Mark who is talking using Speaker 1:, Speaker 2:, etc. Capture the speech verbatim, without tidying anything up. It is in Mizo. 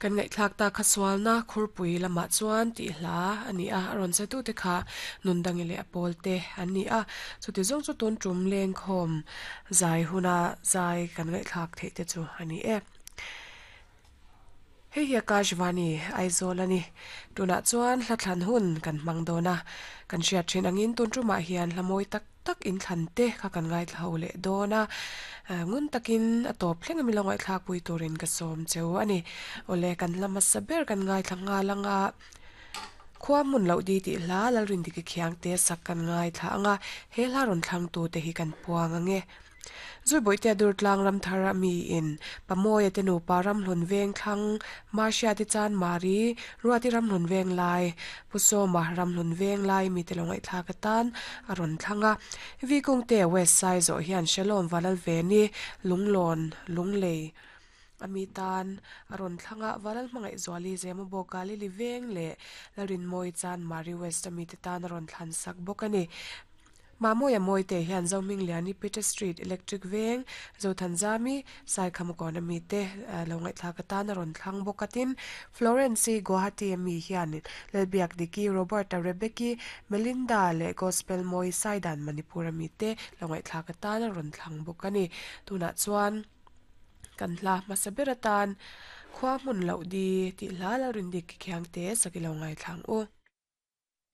Speaker 1: Kan ngaihthlak ta kha sualna khurpui lamah chuan tih hla ani a a rawn che tu te kha nundangi leh a pawl te an ni a chuti zawng chu tun tum leng khawm zai huna zai kan ngaihthlak theih te chu ani e. Hei hi Akashvani Aizawl ani tunah chuan hla thlan hun kan hmang dawn a kan hriat thin angin tun tumah hian hla mawi tak tak in thlan te kha kan ngaithla ho leh dawn a ngun takin a tawp thleng ami lo ngaihthlak pui turin ka sawm cheu ani awle kan hla hmasa ber kan ngaithla nghal anga khua hmun loh di tih hla lalrin diki khiang te sak kan ngaithla anga he hla rawn thlang tu te hi kan puang ange. Zui te dur tlang ram thar ami in pamoya te nupa ram hlun veng thlang marcia te chan mari ruati ram hlun veng lai pusoma ram hlun veng lai mi te longai thla ka tan aron thlanga vi kung te west side zo hian shalom valal veni lunglon lunglei ami tan aron thlanga valal hmangai zuali zema bogali li veng le larin moi chan mari west ami te tan aron thlan sak bawk ani. Mamoya moi te hian Zoming Liani Peter Street Electric Veng Zothanzami Saikham kon ami te lo ngai thla ka tan aron thlang bawkatin Florence Guwahati ami hian Lalbiak Diki Roberta Rebecca Melinda le Gospel Moi Saidan Manipur ami te lo ngai thla ka tan aron thlang bawkani tuna chuan kan hla hmasa ber atan khua hmun loh di tih hla lo rin dik khiang te sakilo ngai thlang u.